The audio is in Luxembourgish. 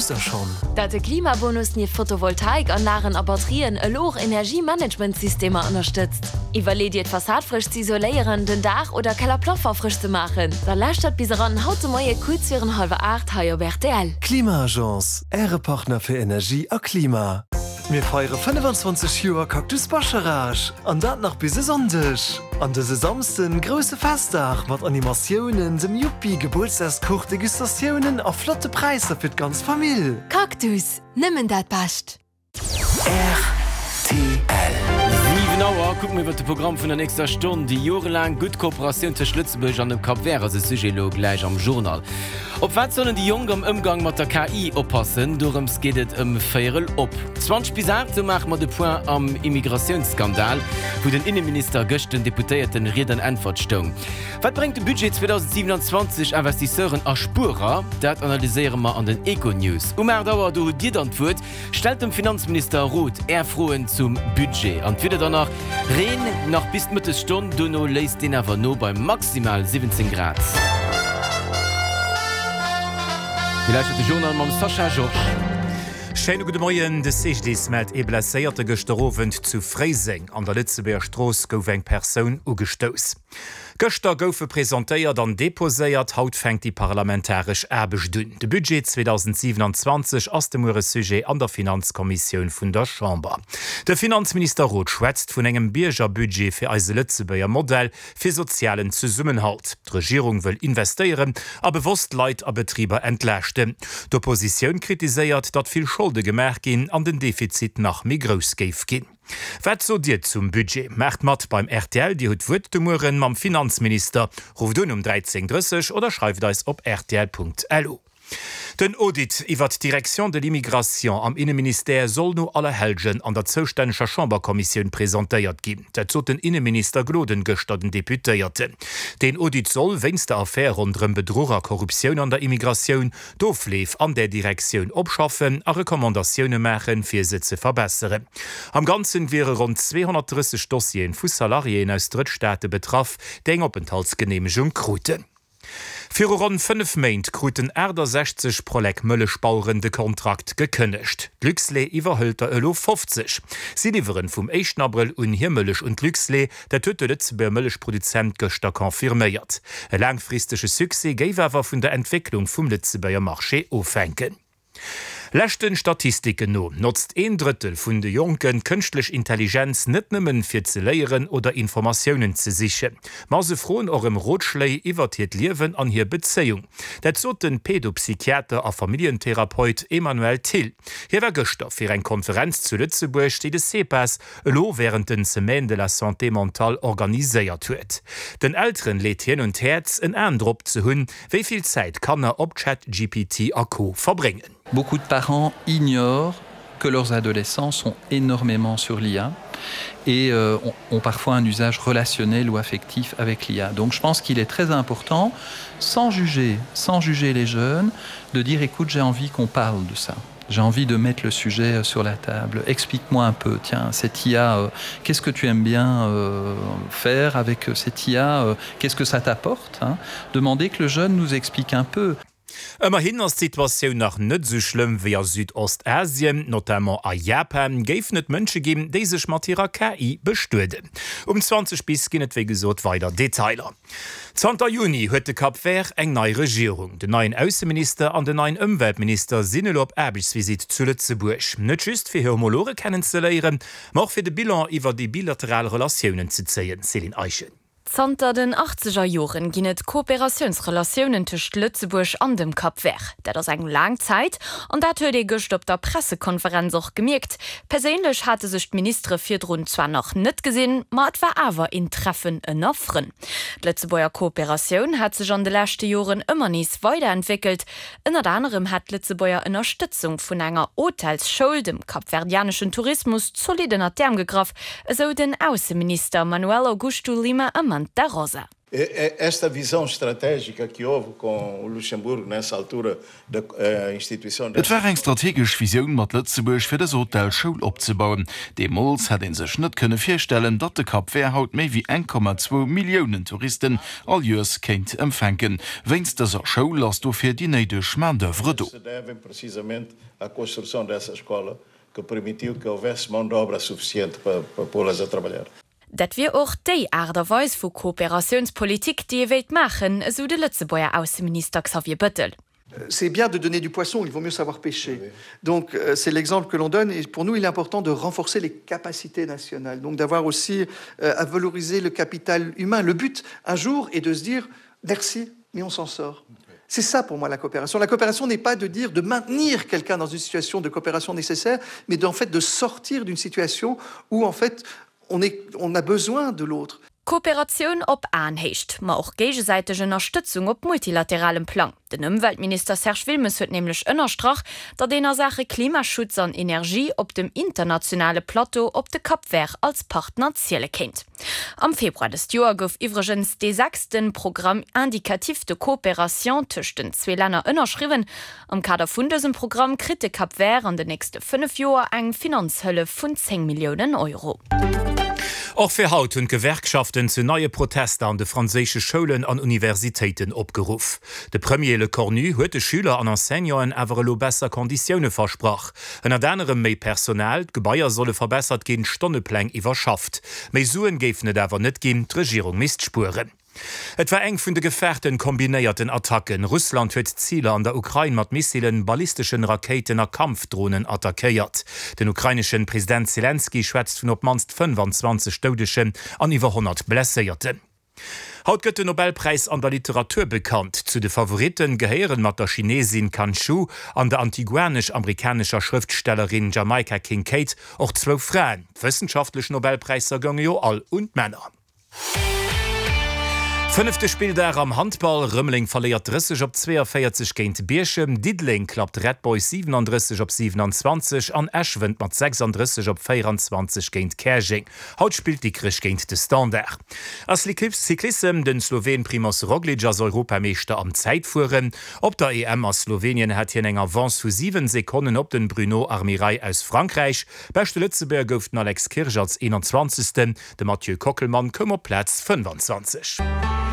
Wousst der schonn? Dat de Klimabonus nieft Photovoltaikanlagen a Batterien elo och Energiemanagementsystemer ënnerstëtzt? Iwwerlee dir d'Fassad frësch ze isoléieren, den Daach oder Kellerplaffer frësch ze maachen? Da lauschtert bis eran haut de Moie kuerz virun hallwer 8 hei op rtl. Klima-Agence, Äre Partner fir Energie a Klima. Mir feiere 25 Joer Cactus Bascharage an dat nach bis e Sonndeg. An dëse Samsden grousse Festdag mat Animatiounen, dem Yuppi, Gebuertsdagskuch, Degustatiounen a flotte Präisser fir d'ganz Famill. Cactus, nëmmen dat Bescht! Rtl. 7 Auer, kucke mir iwwer de Programm vun der nächster Stonn. Déi jorelaang gutt Kooperatioun tëscht Lëtzebuerg an dem Cap Vert ass e Sujet elo gläich am Journal. Op wat sollen déi Jonk am Ëmgang mat der KI oppassen? Dorëms geet et ëm véierel op 20 bis 8. Sou maache mer de Point am Immigratiounsskandal, wou den Inneminister gëscht den Deputéierten Ried an Äntwert stoung. Wat bréngt de Budget 2027 Investisseuren a Spuerer? Dat analyséiere mer an den Econews. Um 8 Auer, do hutt Dir dann d'Wuert. Stellt dem Finanzminister Roth Är Froen zum Budget. An d'Wieder dann nach, Reen nach bis d'Mëttesstonn, dono léisst deen awer no bei maximal 17 Grad. Dir lauschtert de Journal mam Sascha Georges. Schéine gudde Moien. De CGDIS mellt ee Blesséierte gëschter Owend zu Fréiseng. An der Lëtzebuerger Strooss gouf eng Persoun ugestouss. Gëschter goufe presentéiert an deposéiert, haut fänkt déi parlamentaresch Aarbecht un. De Budget 2027 ass de Muere Sujet an der Finanzkommissioun vun der Chamber. De Finanzminister Roth schwätzt vun engem Biergerbudget fir eise Lëtzebuerger Modell fir sozialen Zesummenhalt. D'Regierung wëll investéieren a bewosst Leit a Betriber entlaaschten. D'Oppositioun kritiséiert, datt vill Scholde gemaach ginn an den Defizit nach méi grouss géif ginn. Wat sot Dir zum Budget? Maacht mat beim rtl, Dir hutt d'Wuert de Mueren mam Finanzminister. Rufft un um 13:30 oder schreift eis op rtl.lu. Den Audit iwwert d'Direction de l'immigration am Inneministère soll no Allerhellgen an der zoustänneger Chamberkommissioun presentéiert ginn. Dat sot den Inneminister Gloden gëschter den Deputéierten. Deen Audit soll, wéinst der Affär ronderëm Bedruch a Korruptioun an der Immigratioun, d'Ofleef an där Direktioun opschaffen a Recommandatioune maachen, fir se ze verbesseren. Am Ganzen wiere ronn 230 Dossieren vu Salariéen aus Drëttstaate betraff, déi eng Openthaltsgeneemegung kruten. Viru ronn 5 Méint kruten 68 Prolec-Mëllechbaueren de Kontrakt gekënnegt. D'Luxlait iwwerhëlt der elo 50. Si liwweren vum éischten Abrëll un hir Mëllech un d'Luxlait. Dat huet de Lëtzebuerger Mëllechproduzent gëschter confirméiert. E laangfristege Succès géif awer vun der Entwécklung vum Lëtzebuerger Marché ofhänken. Leschte Statistiken no notzt een Drëttel vun de Jonken d'kënschtlech Intelligenz net nëmmen fir ze léieren oder Informatiounen ze sichen, ma se froen och ëm Rotschléi iwwert hiert Liewen an hir Bezéiung. Dat sot de Pedopsychiater a Familljentherapeut Emmanuel Thill. Hie war gëschter fir eng Konferenz zu Lëtzebuerg, déi de CEPAS elo wärend den Semaines de la santé mentale organiséiert huet. Den Elteren leet hien un d'Häerz, en Aen drop ze hunn, wéi vill Zäit Kanner op ChatGPT a Co verbréngen. Beaucoup de parents ignorent que leurs adolescents sont énormément sur l'IA et euh, ont parfois un usage relationnel ou affectif avec l'IA. Donc je pense qu'il est très important, sans juger, sans juger les jeunes, de dire écoute, j'ai envie qu'on parle de ça. J'ai envie de mettre le sujet euh, sur la table. Explique-moi un peu, tiens, cette IA, euh, qu'est-ce que tu aimes bien euh, faire avec euh, cette IA euh, Qu'est-ce que ça t'apporte Demander que le jeune nous explique un peu. Ëmmerhin ass d'Situatioun nach net esou schlëmm wéi a Südostasien. Notamment a Japan géifen et Mënsche ginn, déi sech mat hirer KI bestueden. Um 20 bis ginn et wéi gesot weider Detailer. Zanter Juni huet de Cap Vert eng nei Regierung. Den neien Ausseminister an den neien Ëmweltminister sinn elo op Aarbechtsvisitt zu Lëtzebuerg. Net just fir hir Homologe kennen ze léieren, ma och fir de Bilan iwwer déi bilateral Relatiounen ze zéien. Céline Eischen. Zanter den achtzeger Joren ginn et Kooperatiounsrelatiounen tëscht Lëtzebuerg an dem Cap Vert. Dat ass eng laang Zäit an dat huet ee gëscht op der Pressekonferenz och gemierkt. Perséinlech hate sech d'Ministere virdrun zwar nach net gesinn, ma et war awer een Treffen ënner Frënn. D'Lëtzebuerger Kooperatioun hat sech an de leschte Joren ëmmer nees weiderentwéckelt. Ënnert anerem hat d'Lëtzebuerger Ënnerstëtzung vun enger Hotelsschoul dem kapverdianeschen Tourismus zolidd ënnert d'Äerm gegraff, esou den Ausseminister Manuel Augusto Lima Amant da Rosa. Esta visão estratégica que houve com o Luxemburgo nessa altura da instituição Et war eng strategesch Visioun mat Lëtzebuerg fir dës Hotelschoul opzebauen. Deemools hätt ee sech net kënne virstellen, datt de Cap Vert haut méi wéi 1,2 Milliounen Touristen all Joers kéint empfänken. Wéinst dëser Schoul ass dofir déi néideg Main d'oeuvre do. que permitiu que houvesse mão de obra suficiente para, para pô-las a trabalhar. Dat wier och déi Aart a Weis vu Kooperatiounspolitik, déi ee wéilt maachen, esou de Lëtzebuerger Ausseminister Xavier Bëttel. C'est bien de donner du poisson, il vaut mieux savoir pêcher. Donc euh, c'est l'exemple que l'on donne et pour nous il est important de renforcer les capacités nationales, donc d'avoir aussi euh, à valoriser le capital humain. Le but un jour est de se dire merci, mais on s'en sort. C'est ça pour moi la coopération. La coopération n'est pas de dire de maintenir quelqu'un dans une situation de coopération nécessaire, mais d'en fait de sortir d'une situation où en fait on, est, on a besoin de l'autre. Kooperatioun op Aenhéicht, ma och géigesäiteg Ënnerstëtzung op multilateralem Plang. Den Ëmweltminister Serge Wilmes huet nämlech ënnerstrach, datt een a Saache Klimaschutz an Energie op dem internationale Plateau op de Cap Vert als Partner ziele kéint. Am Februar dëst Joer gouf iwwregens dee sechste Programme indicatif de coopération tëscht den zwee Länner ënnerschriwwen. Am Kader vun dësem Programm kritt de Cap Vert an den nächste 5 Joer eng Finanzhëllef vun 10 Milliounen Euro. Och fir haut hunn d'Gewerkschaften zu neie Protester an de franséische Schoulen an Universitéiten opgeruff. De Premier Lecornu huet de Schüler an Enseignanten awer elo besser Konditioune versprach. Ënnert anerem méi Personal, d'Gebaier solle verbessert ginn, d'Stonnepläng iwwerschafft. Méi Suen géifen et awer net ginn, d'Regierung misst spueren. Et war eng vun de gefaarten kombinéierten Attacken. Russland huet Ziler an der Ukrain mat Missilen, ballisteschen Rakéiten a Kampfdronen attackéiert. Den ukraineschen President Selenskyj schwätzt vun op d'mannst 25 Doudegen an iwwer 100 Blesséierten. Haut gëtt den Nobelpräis an der Literatur bekannt. Zu de Favoritten gehéieren mat der Chinesin Kan Shu an der antiguanesch-amerikanescher Schrëftstellerin Jamaica Kincaid och zwou Fraen. D'wëssenschaftlech Nobelpräisser gounge jo all un d'Männer. Fënnefte Spilldag am Handball, Rëmeleng verléiert 30 op 42 géint Bierchem, Diddeleng klappt Red Boys 37 op 27 an Esch wënnt mat 36 op 24 géint Käerjeng. Haut spillt Dikrech géint de Standard. A Cyclissem, Den Sloween Primoz Roglic ass Europameeschter am Zäitfueren. Op der EM a Slowenien hat hien eng Avance vu 7 Sekonnen op den Bruno Armirail aus Frankräich. Beschte Lëtzebuerger gouf den Alex Kirsch als 21. De Mathieu Kockelmann koum op Plaz 25.